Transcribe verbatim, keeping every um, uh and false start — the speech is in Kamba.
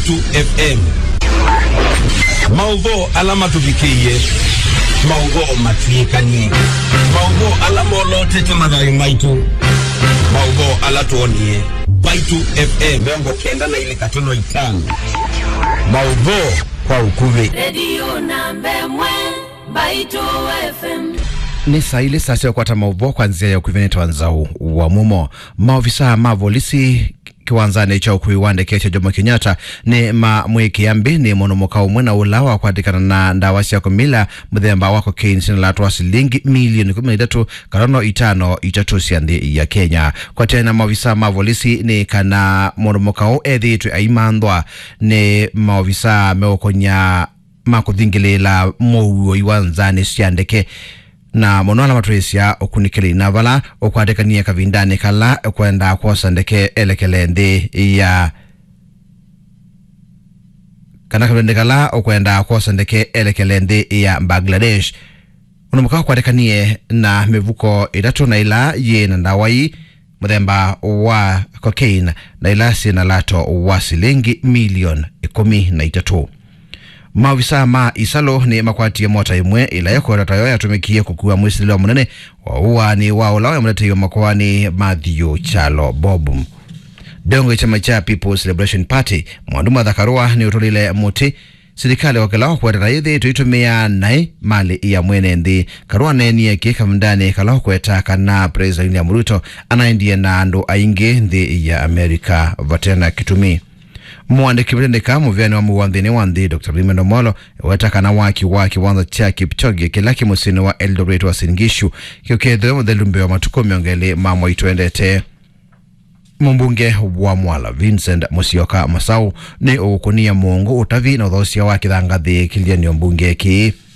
Mbaitu F M. Maũvoo ala matũvikĩie, maũvoo matw'ĩkanie, maũvoo ala molotete mathayũ maitũ, maũvoo ala twonie. Mbaitu F M mĩongo kenda na ilĩ katono itano. Maũvoo kwa ũkuvĩ. Redio namba ĩmwe, Mbaitu F M. Nĩ saa ilĩ, saa sya kũkwata maũvoo kwa nzĩa ya ũkuvĩ nĩ ta Nzau wa Mumo. Maovisaa ma volisi kĩwanzanĩ kya ũkui wa ndeke kya Jomo Kenyatta nĩ mamwĩkĩa mbĩ nĩ mũndũ mũka ũmwe na ũla wakwatĩkana na ndawa sya kũmila mũthemba wa cocaine syĩna latũ wa silingi milioni kũmi na itatũ katono itano itatũ sya nthĩ ya Kenya. Kwatĩana na maovisaa ma volisi nĩ kana mũndũ mũka ũũ ethĩĩtwe aimanthwa nĩ maovisaa meũkony'a ma kũthingĩlĩĩla mũuoi wa nzanĩ sya ndeke, na mũno ala matwĩĩsya ũkunĩkĩli na vala ũkwatĩkanie kavindanĩ kala ũkwendaa kwosa ndeke elekele nthĩ ya, kana kavindanĩ kala ũkwendaa kwosa ndeke elekele nthĩ ya Bangladesh. Ũndũ mũka ũkwatĩkanie na mĩvuko ĩtatũ na ĩla yĩ na ndawa ii mũthemba wa cocaine na ila syĩ na lato wa silingi milioni ĩkũmi na itatũ. Maovisaa ma Isalu nĩ makwatie mota ĩmwe ĩla ĩkwetwa tayo yatũmĩkie kũkua mwĩsilĩlo mũnene wa ũaani wa ũla waĩ mũtetei wa makoani Matthew Kyalo Bob. Ndongo ya kyama kya People's Liberation Party, Mwandu Martha Karua, nĩ ũtũlile mũtĩ silikalĩ kwakĩla ũkwetana yĩthĩĩtwe ĩtũmĩaa naĩ malĩ ya mwene nthĩ. Karua aneenie kĩĩ kavindanĩ kala ũkweta kana President William Ruto anaendie na andũ aingĩ nthĩ ya Amerika vate na kĩtumi. Mũandĩki matendeka mũvĩanĩ wa mũuo nthĩnĩ wa nthĩ, Doctor Raymond Omolo, eweta kana waki wa kĩwanza kya Kipchoge kĩla kĩ mũsyĩnĩ wa Eldoret wa Uasin Gishu kĩũkethĩwe mũthelu mbee wa matukũ mĩongo ĩlĩ ma mwai twendete. Mũmbunge wa Mwala, Vincent Musyoka Masau, nĩ ũkũnia mũongo ũtavi na ũthoosya wa kĩthangathĩ kĩlianĩo mbunge kĩĩ.